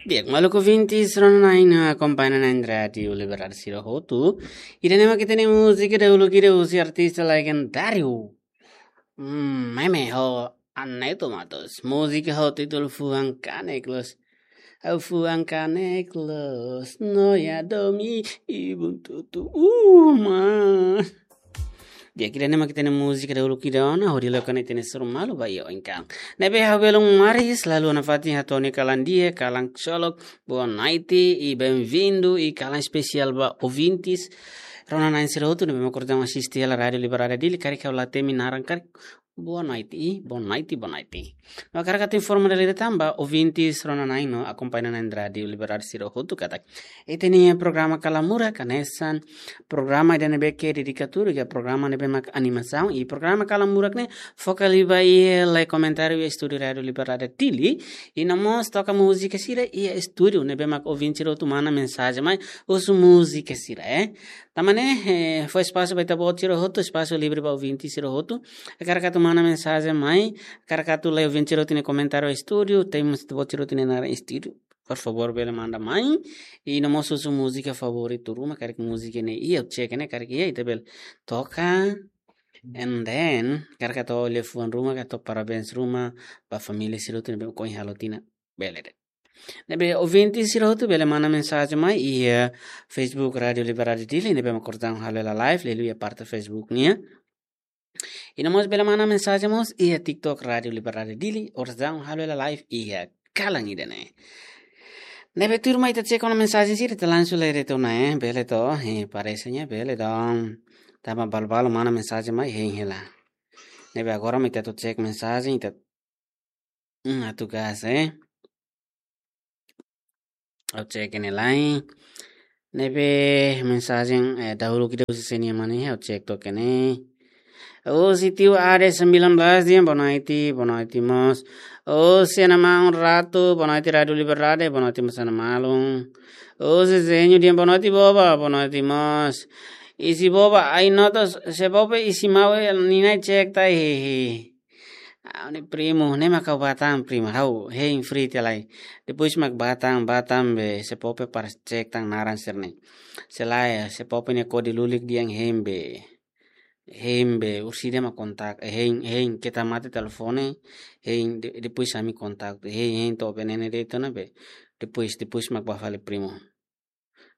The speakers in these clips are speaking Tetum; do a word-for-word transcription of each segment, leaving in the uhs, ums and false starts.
Di'ak, maluk ouvintes, rona-na'in no akompaña na'in Rádiu Liberdade sira hotu. Ida-ne'e mak ita-nia múzika dahuluk ida husi artista legendáriu. Hmm, Meme ho Aneto Matos. Múzika ho títulu Fuan Kanek Loos. Ha'u fuan kanek loos, no iha domin, ibun tutu uma. Di'ak, ida-ne'e mak ita-nia múzika dahuluk ida ona, hodi loke ona ita-nia sorumutu ba iha oin kalan. Ne'ebé ha'u belun maris, lalu ona fatin hato'o nia kalan di'ak, kalan ksolok, boa noite e bem-vindo, e kalan espesiál ba ouvintes. Rona-na'in sira hotu ne'ebé mak orsida asiste hela Rádiu Liberdade Dili, karik ha'u la temi naran karik. Boa noite, boa noite, boa noite. No hakarak atu informa dala ida tan ba ouvintes rona-na'in no akompaña na'in Rádiu Liberdade sira hotu katak ita-nia programa Kalan Murak hanesan programa ida ne'ebé ke dedikadu iha programa ne'ebé mak animasaun, i programa Kalan Murak ne'e foka liu ba iha la'e komentáriu iha estúdiu Rádiu Liberdade Dili, i no mós toka múzika sira iha estúdiu ne'ebé mak ouvinte sira hotu manda mensajen mai husu múzika sira, eh. Tanba ne'e, eh, fó espasu ba ita-boot sira hotu, espasu livre ba ouvinte sira hotu. Hakarak atu manda mensajen mai, hakarak atu la'e ouvinte sira hotu nia komentáriu estúdiu, temi ita-boot sira hotu nia naran estúdiu. Por favór, bele manda mai. I no mós husu múzika favoritu ruma, karik múzika ne'e iha, ha'u cek ne'e, karik iha, ita bele toka. And then, hakarak atu halo fuan ruma, ka hato'o parabéns ruma ba família sira hotu ne'ebé ohin halo tinan. Bele de'it. Ne'ebé ouvinte sira hotu bele manda mensajen mai iha Facebook Rádiu Liberdade Dili, ne'ebé mak orsida halo hela live, liuliu iha parte Facebook nian. I no mós bele manda mensajen mós iha TikTok Rádiu Liberdade Dili, orsida halo hela live iha kalan ida-ne'e. Ne'ebé tuirmai ita cek ona mensajen sira, ita langsung lee de'it ona, eh, bele to, eh, parese ne'e bele dong. Tanba balu-balu manda mensajen mai hein hela. Ne'ebé agora mak ita atu cek mensajen, ita Hmm, atu gas, eh. Ha'u cek ne'e lai. Ne'ebé mensajen, eh, dahuluk ida husi sé nian mak ne'e, ha'u cek took ne'e. Husi tiu Ade sembilan belas dehan boa noite, boa noite mós. Husi Ana Maun Ratu, boa noite Rádiu Liberdade, boa noite mós Ana Malun. Husi Zenho dehan boa noite boba, boa noite mós. Isi boba, ai notas, se boba isi mau, eh, ninai cek tai, hehe. Ha'u-nia primu, ne'e mak ha'u bá tan primu, ha'u hein free tiha lai. Depois mak bá tan, bá tan be, se pope para cek tan naran sira-ne'e. Se lae, se pope nia kode lulik dehan hein be. Hein be, orsida mak kontak, eh, hein, hein, keta mate telefone, hein, de-, depois ami kontak, hein, hein, to'o be ne'e de'it ona be. Depois, depois mak bá fali primu.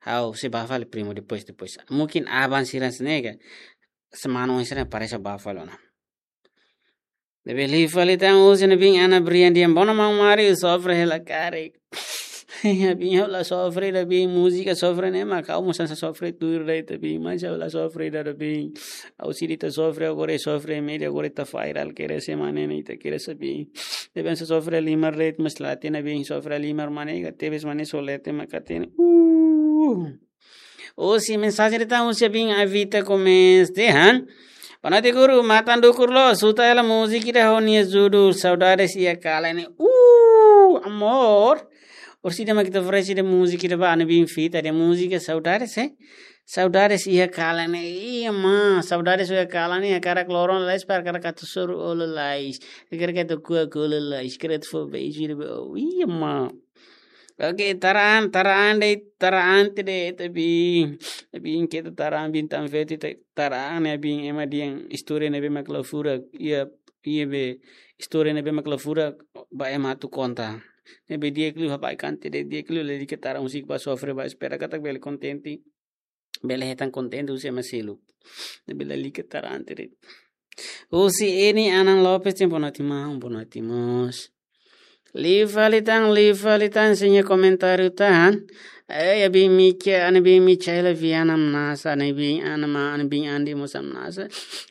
Ha'u sei bá fali primu depois, depois. Mungkin aban sira-ne'e ka, semana oin sira parese bá fali ona. Ne'ebé liu fali tan husi ne'ebé Ana Brian dehan boa noite maun Mari, sofre hela karik. Ne'ebé ha'u la sofre ida be, múzika sofre ne'e mak ha'u mós hanesan sofre tuir de'it be, mas ha'u la sofre ida be. Ha'u sira ita sofre agora, sofre média agora ita viral kere se mane ne'e ita kere sabi. Ne'ebé hanesan sofre halimar de'it mas la hatene be, sofre halimar mane ka tebes mane solete mak hatene. Uh. Husi mensajen de'it tan husi abin Avita Gomes dehan. Boa noite guru, matan dukur loos, suta hela múzika ida ho nia judul Saudades Iha Kalan ne'e. Uh, amor. Orsida mak ita oferese ida múzika ida ba ana bin Vita dehan múzika Saudades, eh? Saudades Iha Kalan ne'e. Iha mak, Saudades Iha Kalan ne'e, hakarak loron lalais para hakarak atu soru olo lalais. Hakarak atu kuak olo lalais. Hakarak atu fó beijo ida ba. Oh, iha mak. Oke, taraan, taraan de'it, taraan te de'it, tapi, tapi keta taraan bintang feti, ta-, taraan ne'e bin ema dehan istória ne'ebé mak la furak, iha, iha be, istória ne'ebé mak la furak, ba ema atu konta. Ne'ebé di'ak liu habai kante de'it, di'ak liu lalika taraan husik ba sofre ba espera katak bele kontente. Bele hetan kontente husi ema seluk. Ne'ebé lalika taraan te de'it. Husi Eni Anan Lopes dehan boa noite maun, boa noite mós. Liu fali tan, liu fali tan, sei nia komentáriu tan. Eh, abin Mica, ana bin Micaela Viana Mnasa, ana bin ana ma, ana bin Andi mós Mnasa.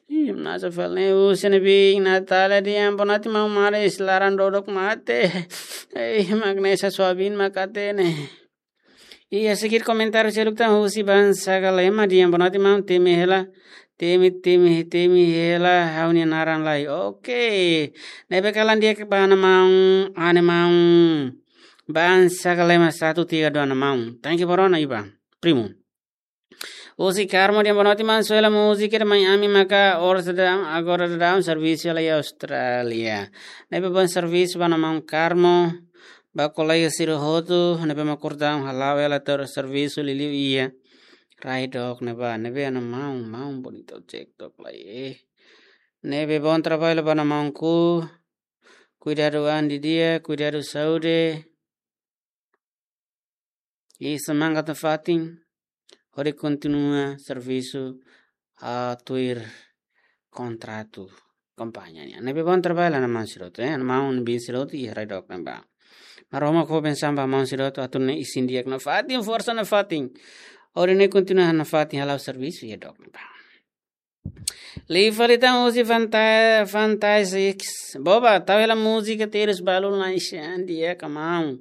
Ih, Mnasa fali ne'e, husi ana bin Natália dehan boa noite maun Mari, laran dodok mate. Eh, mak ne'e sa suabin mak hatene. Iha seguir komentáriu seluk tan husi Bansa Galema dehan boa noite maun, temi hela, temi, temi, temi hela ha'u-nia naran lai. Oke. Ne'ebé kalan di'ak ba ana maun, ana maun. Bansa Galema satu tiga dua ana maun. Thank you ba rona iba. Primu. Husi Carmo dehan boa noite maun, só hela múzika ida mai ami maka oras daudaun, agora daudaun servisu hela iha Austrália. Ne'ebé bom servisu ba ana maun Carmo. Ba kolega sira hotu ne'ebé mak kordaun hala'o hela tuir servisu liuliu iha rai dook ne'ebá, ne'ebé ana maun, maun bonitu cek tok lai, eh. Ne'ebé bom trabalho ba ana maunku. Kuidadu an didi'ak, kuidadu saúde. I semangat nafatin hodi kontinua servisu, ah, tuir kontratu kampaña nian. Ne'ebé bom trabalho ba ana maun sira hotu, eh, ana maun ne'ebé sira hotu iha rai dook ne'ebá. Maromak fó bensaun ba maun sira hotu atu nune'e isin di'ak nafatin, forsa nafatin. Hodi nune'e kontinua nafatin hala'o servisu iha dook ne'ebá. Liu fali tan husi Fanta-, Fantasix. Boba, tau hela múzika terus balun la ishan di'ak ka maun.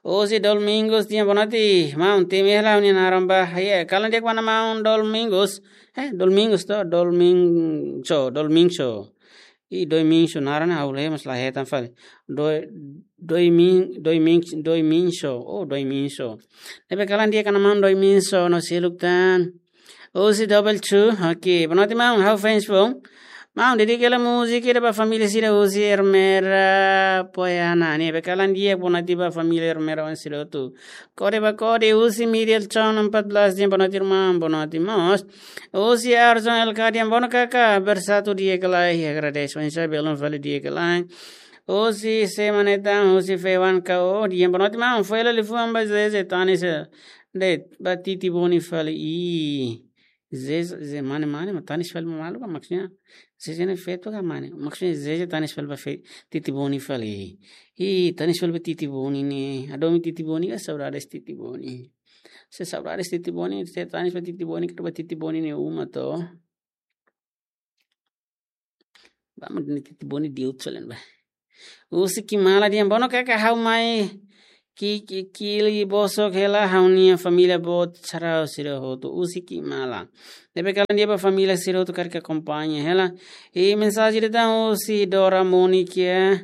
Husi Domingos di'ak, boa noite maun, temi hela ha'u-nia naran ba. Iha, kalan di'ak ba maun Domingos. Eh, Domingos to, Domingo, Domingo. I Domingo naran ha'u lee mas la hetan fali. Do-, Domin-, Domin-, Domingo. Oh, Domingo. Ne'ebé kalan di'ak ba maun Domingo no seluk tan. Husi Double Two, oke. Boa noite maun, ha'u fans foun. Maun, dedika hela múzika ida ba família sira husi Ermera Poiana. Ne'ebé kalan di'ak, boa noite ba família Ermera oan sira hotu. Kode ba kode, husi Miriel Chon empat belas di'ak, boa noite irmã, boa noite mós. Husi Arzon Elkadian, boa noite kaka, bersatu di'ak lai, agradece. Oinsá belun fali di'ak lai. Husi Semanetan, husi Fewan Kao di'ak, boa noite maun, fó hela liafuan ba Zeze, tanis, eh, de'it, ba Titi Boni fali. Ih, Zeze, Zeze, mane, mane, mas tanis fali ba malu ka, maksudnya Zeze ne'e feto ka mane? Maksudnya Zeze tanis fali ba fe-, Titi Boni fali. Ih, tanis fali ba Titi Boni ne'e. Hadomi Titi Boni ka, saudades Titi Boni. Se saudades Titi Boni, se tanis ba Titi Boni, ka ba Titi Boni nia uma to. Ba maun, Titi Boni di'ak utsalen ba. Husi Kimala di'ak, boa noite kaka, ha'u mai ki, ki, kili bosok hela ha'u-nia família boot sarau sira hotu husi Kimala. Ne'ebé kalan di'ak ba família sira hotu karik akompaña hela. I mensajen ida tan husi Dora Monica.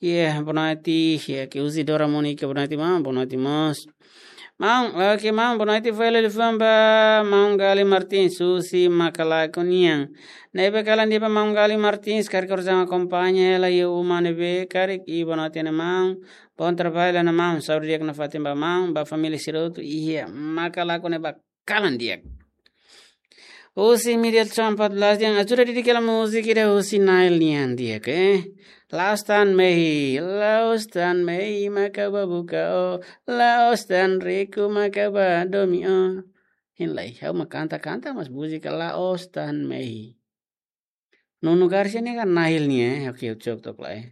Iha, boa noite, iha, ke husi Dora Monica, boa noite maun, boa noite mós. Maun, oke maun, boa noite, fó hela liafuan ba maun Gali Martins, husi Macalaco nian. Ne'ebé kalan di'ak ba maun Gali Martins, karik orsama akompaña hela iha uma ne'ebé karik, i boa noite ne'e maun. Bom trabalho ne'e maun, saúde di'ak nafatin ba maun, ba família sira hotu iha Macalaco ne'ebá kalan di'ak. Husi Miriel Chon empat belas di'ak, ajuda dedika hela múzika ida husi Nail nian di'ak, eh. La'ós tan mehi, la'ós tan mehi mak ha'u bá buka ó, la'ós tan riku mak ha'u bá domin ó. Hein lai, ha'u mak kanta, kanta mas múzika la'ós tan mehi. Nuno Garcia ne'e ka Nail nian, eh. Oke, cocok tok lai, eh.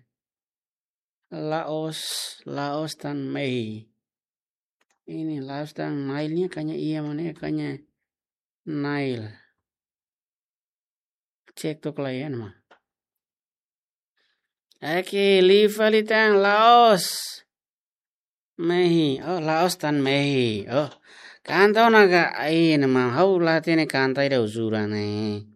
La'ós, la'ós tan mehi. Ini la'ós tan Nail nian, kayaknya iya mana ya, kayaknya Nail. Cek tok lai ya nama. Oke, liu fali tan la'ós mehi. Oh, la'ós tan mehi. Oh, kanta ona ka, ai, nama ha'u la hatene kanta ida uzuran ne'e.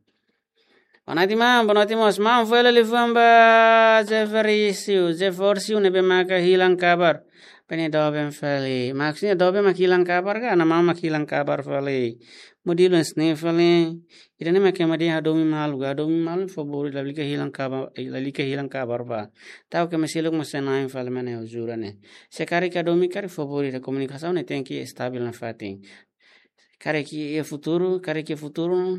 Boa noite maun, boa noite mós. Maun, fó hela liafuan ba Zeferisiu, Zeferisiu ne'ebé maka hilang kabar. Pene doben fali. Maksudnya doben mak hilang kabar ka, ana maun mak hilang kabar fali. Modelu hanesan ne'e fali. Ida-ne'e mak ema dehan hadomi malu ka, hadomi malu favór, lalika hilang kabar, lalika hilang kabar ba. Ta'uk ema seluk mak sai-na'in fali, mane, uzuran ne'e. Se karik hadomi karik favór, ida komunikasaun ne'e tenke estabil nafatin. Karik iha futuru, karik iha futuru,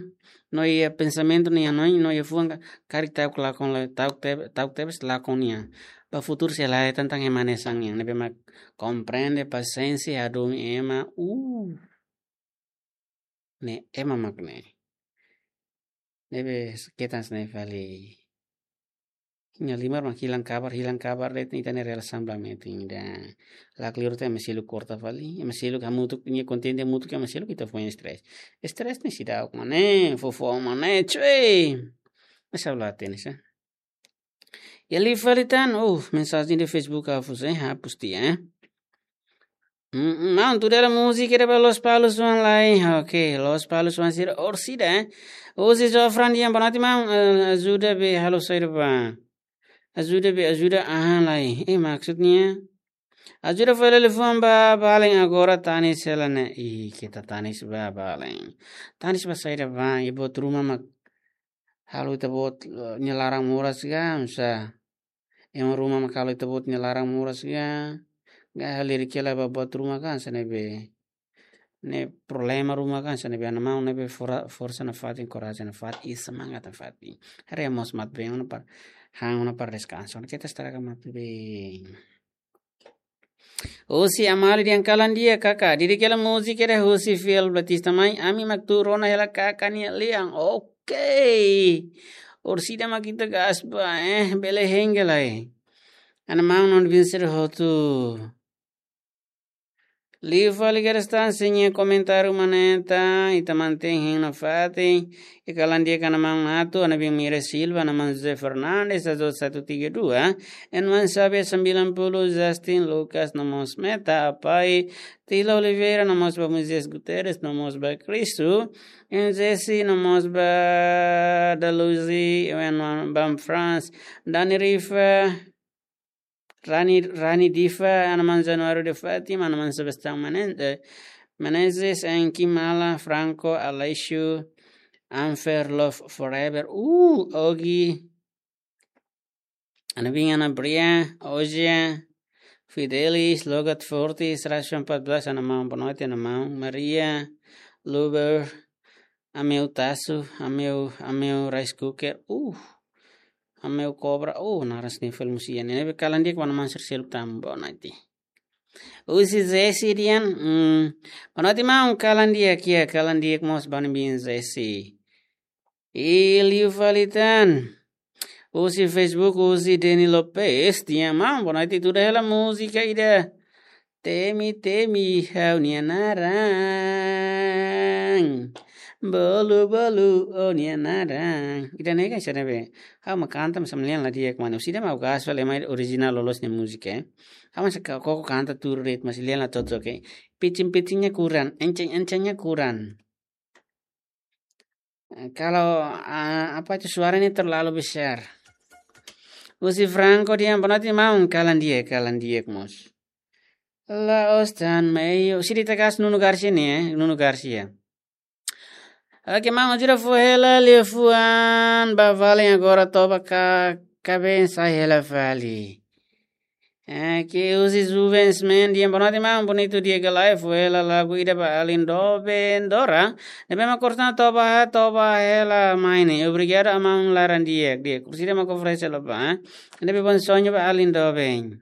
no iha pensamentu nian, no, no iha fuan ka, karik ta'uk lakon la, ta'uk te-, ta'uk tebes lakon nian. Ba futuru sei la hetan tan ema hanesan nian, ne'ebé mak komprende, pasiénsia, hadomi ema, uh. Ne'e ema mak ne'e. Ne'ebé ketan hanesan ne'e fali. Nia halimar mak hilang kabar, hilang kabar de'it, ita-nia relasaun bá metin ida. La kleur tan ema seluk korta fali, ema seluk hamutuk, nia kontente hamutuk, ema seluk ita foin stress. Stress ne'e seidauk, mane, fofo mane, cuy. Esa la hatene sa. Iha liu fali tan, uh, mensajen di Facebook hapus, eh, hapus tiha, eh. Mm, mm, maun, tuda hela múzika ida ba Lospalos oan lai. Oke, Lospalos oan sira orsida, eh. Husi Zofran di'ak, boa noite maun, eh, ajuda be halo saida ba. Ajuda be, ajuda aha lai. Eh, maksudnya. Ajuda fó hela liafuan ba balen, agora tanis hela ne'e. Ih, keta tanis ba balen. Tanis ba saida ba, iha buat ruma mak halo ita-boot, eh, nia laran moras ka, oinsá. Ema ruma mak halo ita-boot nia laran moras ka. Ga halirik hela ba buat ruma kan, hanesan ne'ebé, ne'e problema ruma kan, hanesan ne'ebé, ana maun ne'ebé fora-, forsa nafatin, korajen nafatin, i semangat nafatin. Haree mós matebian ona para, han ona para deskansa. Keta estraga matebian. Husi Amali dehan kalan di'ak kaka. Di'ak hela múzika ida husi Fiel Batista mai. Ami mak tuur ona hela kaka nia lian. Oke. Orsida mak ita gas ba, eh, bele hengge lai. Ana maun no ouvinte sira hotu. Liu fali Gerstan, sin, nia komentáriu maneta, ita mantein hein nafatin, i kalan di'ak ka ana maun atu, ana biin Mira Silva, ana maun José Fernandes, Azul satu tiga dua, Enman Sabe sembilan puluh, Justin Lucas, no mós Meta Apai, Tila Oliveira, no mós ba Moisés Guterres, no mós ba Cristo, Enjesi, no mós ba Daluzi, Enman Bam France, Dani Rifa, Rani, Rani Diva, ana maun Januário de Fátima, ana maun Sebastião Menen-, eh, Menezes, Enki Mala, Franco, Aleixo, Anfer, Love Forever, uh, Ogi, ana biin Ana Bria, Oja, Fidelis, Logat Fortis, Rashon empat belas, ana maun boa noite, ana maun Maria, Luber, Ameu Tasu, Ameu, Ameu Rice Cooker, uh, Ameu Cobra, uh, naran sini film musia ne'e, ne'ebé kalan di'ak ba ana maun sira seluk tan boa noite. Husi Zesi dehan, hmm, boa noite maun, kalan di'ak, ya, kalan di'ak mós ba ana biin Zesi. I liu fali tan. Husi Facebook, husi Deni Lopes, dehan maun, boa noite, tuur hela múzika ida. Temi, temi, ha'u-nia naran. Bolu, bolu, ó-nia naran. Ida-ne'e kan hanesan ne'ebé, ha'u mak kanta, mas ami lian la di'ak mane. Orsida mak gas fali mai orijinál loloos nia múzika, eh. Ha'u mak koko kanta tuur de'it, mas lian la to'o toke. Pitching-pitchingnya kurang, enceng-encengnya kurang. Eh, kalau, ah, apa itu, suaranya terlalu besar. Husi Franco dehan boa noite maun, kalan di'ak, kalan di'ak mós. La'ós tan meio. Sidi tegas Nuno Garcia ne'e, eh, Nuno Garcia. Oke, maun, ajuda fó hela liafuan ba vale agora toba ka, kaben sai hela fali. Eh, ke husi Juvens Men dehan boa noite maun, bonitu di'ak ka lae, fó hela lagu ida ba alin doben Dora. Ne'ebé mak kortan toba, toba hela mai ne'e. Obrigadu, maun, laran di'ak, di'ak. Orsida mak oferese hela ba, eh. Ne'ebé Bom Sonho ba alin doben.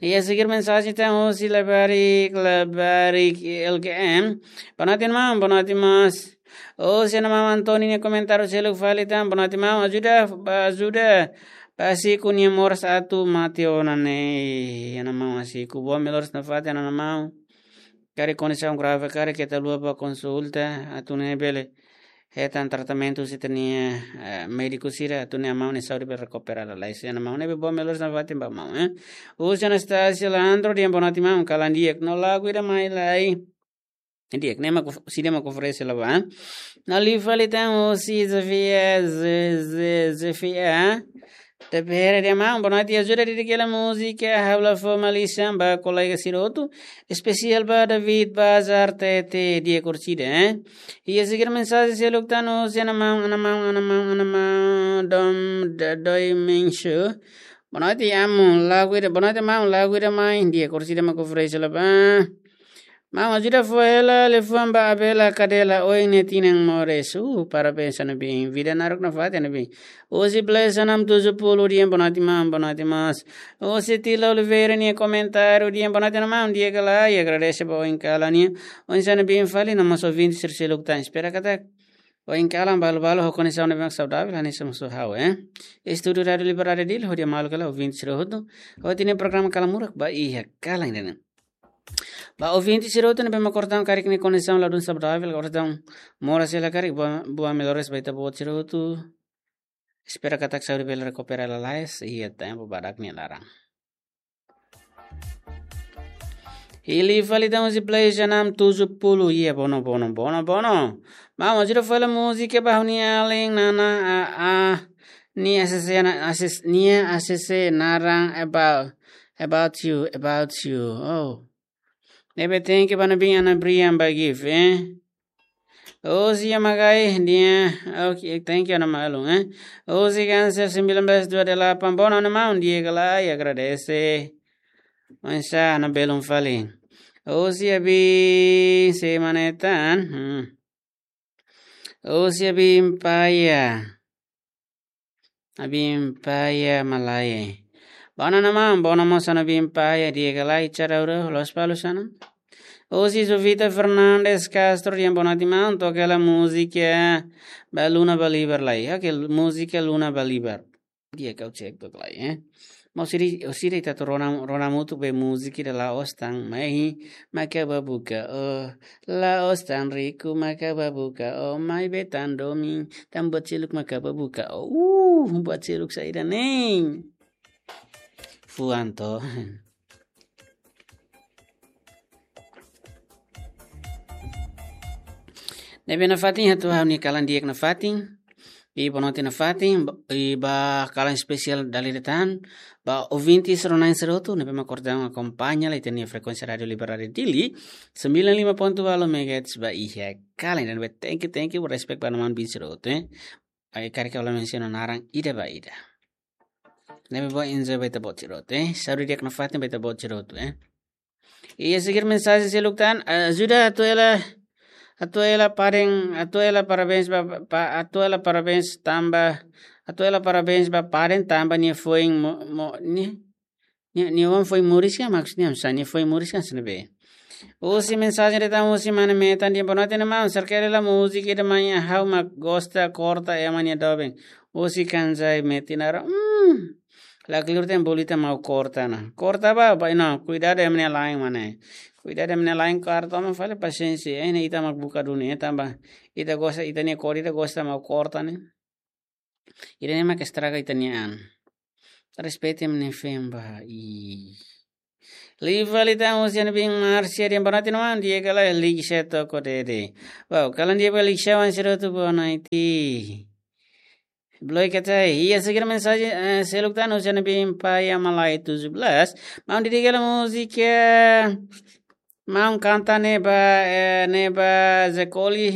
Iha seguir mensajen tan husi Labarik, Labarik L G M. Boa noite maun, boa noite mós. Husi ana maun Antoni nia komentáriu seluk fali tan, boa noite maun, ajuda, ba ajuda ba Asiko nia moras atu mate ona ne'e. Ana maun Asiko, boa melhoras nafatin, ana maun. Karik kondisaun grave karik, keta haluha ba konsulta, atu nune'e bele hetan tratamentu husi ita-nia, eh, médiku sira, atu nune'e maun nia saúde bele rekupera lalais. Ana maun, ne'ebé boa melhoras nafatin ba maun, eh. Husi Anastasia Leandro dehan boa noite maun, kalan di'ak, no lagu ida mai lai. Di'ak, ne'e mak, sidi mak oferese hela ba. No liu fali tan husi Zefia, Ze-, Ze-, Zefia. Tepere dehan maun, boa noite, ajuda di'ak hela múzika, ha'u la fó malisan ba kolega sira hotu, espesiál ba David Bazar Tete, di'ak, orsida, eh. Iha seguir mensajen seluk tan husi ana maun, ana maun, ana maun, ana maun, Dom, Da-, Doi Mensho. Boa noite, amu, lagu ida, boa noite maun, lagu ida mai, di'ak, orsida mak oferese hela ba. Maun, ajuda fó hela liafuan ba Abela Kadela, oin nia tinan moris. Uh, parabéns, ana biin. Vida naruk nafatin, ana biin. Husi Blesa enam tujuh puluh dehan boa noite maun, boa noite mós. Husi Tila Oliveira nia komentáriu dehan boa noite, ana maun, di'ak ka lae, i agradese ba oin kalan nian. Oinsá ana biin fali, no mós ouvinte sira seluk tan. Espera katak oin kalan balu-balu ho kondisaun ne'ebé mak saudavel, hanesan mós ha'u, eh. Estúdiu Rádiu Liberdade Dili, hodi maluk hela ouvinte sira hotu. Hodi nia programa Kalan Murak ba iha kalan ida-ne'e. Ba ouvinte sira hotu ne'ebé mak kortan karik nia kondisaun ladún saudavel, kortan moras hela karik, boa, boa melhoras ba ita-boot sira hotu. Espera katak saúde bele rekupera lalais iha tempu badak nia laran. Hili fali tan husi Blesa enam tujuh puluh, iha Bono, Bono, Bono, Bono. Maun, ajuda fó hela múzika ba ha'u-nia alin Nana A A. Nia A C C na-, A C C, nia A C C naran About, About You, About You. Oh. Ne'ebé thank you ba ana biin Ana Brian ba gift, eh. Husi Yamagai, di'ak, oke, thank you, ana maluk, eh. Husi Cancer sembilan belas dua delapan, boa noite, maun, di'ak ka lae, agradese. Oinsá, ha'u belun fali. Husi Abin, sé mak ne'e tan? Hmm. Husi Abin Paya. Abin Paya Malae. Bona, mana maun, bona mós ha'u-nia Abin Paya, di'ak ka lae, cara ura, loos fali sana. Husi Jovita Fernandes Castro, di'ak, boa noite maun, toka hela múzika ba Luna Balibar lai. Oke, múzika Luna Balibar. Di'ak, ha'u cek took lai, eh. Maun sira, sira ita atu rona, rona hamutuk be múzika ida la'ós tan mai, maka ba buka, oh, la'ós tan riku, maka ba buka, oh, maibé tan domin, tan buat seluk maka ba buka, oh, uh, buat seluk saida ne'e. Fuan to. Ne'ebé nafatin, ha'u hato'o ha'u-nia kalan di'ak nafatin. I boa noite nafatin, i ba kalan espesiál dala ida tan, ba ouvintes rona-na'in sira hotu, ne'ebé mak kordang akompaña lai ita-nia frekuénsia Rádiu Libertária Dili, sembilan lima ponto delapan megahertz ba iha kalan ida-ne'e, thank you, thank you, respect ba mana maun bin sira hotu, eh. Ai, karik ha'u la mensiona naran ida ba ida. Ne'ebé bá enjoy ba ita-boot sira hotu, eh. Saúde di'ak nafatin ba ita-boot sira hotu, eh. Iha seguir mensajen seluk tan, ajuda hato'o hela, hato'o hela paden, hato'o hela parabéns ba, ba, hato'o hela parabéns tanba, hato'o hela parabéns ba paden tanba nia foin mo, mo, nia, nia, nia oan foin moris ka, maksudnya, misalnya foin moris ka, sene be. Husi mensajen ida tan husi mana metan di'ak, boa noite mana maun, serkele la múzika ida mak ha'u mak gosta, Korta Ema nia doben. Husi Kanjai Metinara, hmm. La kleur tan bolu ita mak korta ona. Korta ba, ba, no, kuidadu ema nia la'en mana. Kuidadu ema nia la'en, korta mak fali pasiénsia. Ida-ne'e ita mak buka duni, eh, tanba ita gosta, ita-nia kór ida gosta mak korta ne'e. Ida-ne'e mak estraga ita-nia an. Respeita ema nia feen ba, i. Liu fali tan husi ha'u-nia bin Marcia di'ak, boa noite mana maun, di'ak ka lae, Lixa toko dede. Wow, kalan di'ak ba Lixa wan sira hotu, boa noite. Bloke teh, iha seguir mensajen, eh, seluk tan husi ha'u-nia bin Paya Malae tujuh belas. Maun, dedika hela múzika, eh, maun kanta ne'e ba, eh, ne'e ba Zekoli,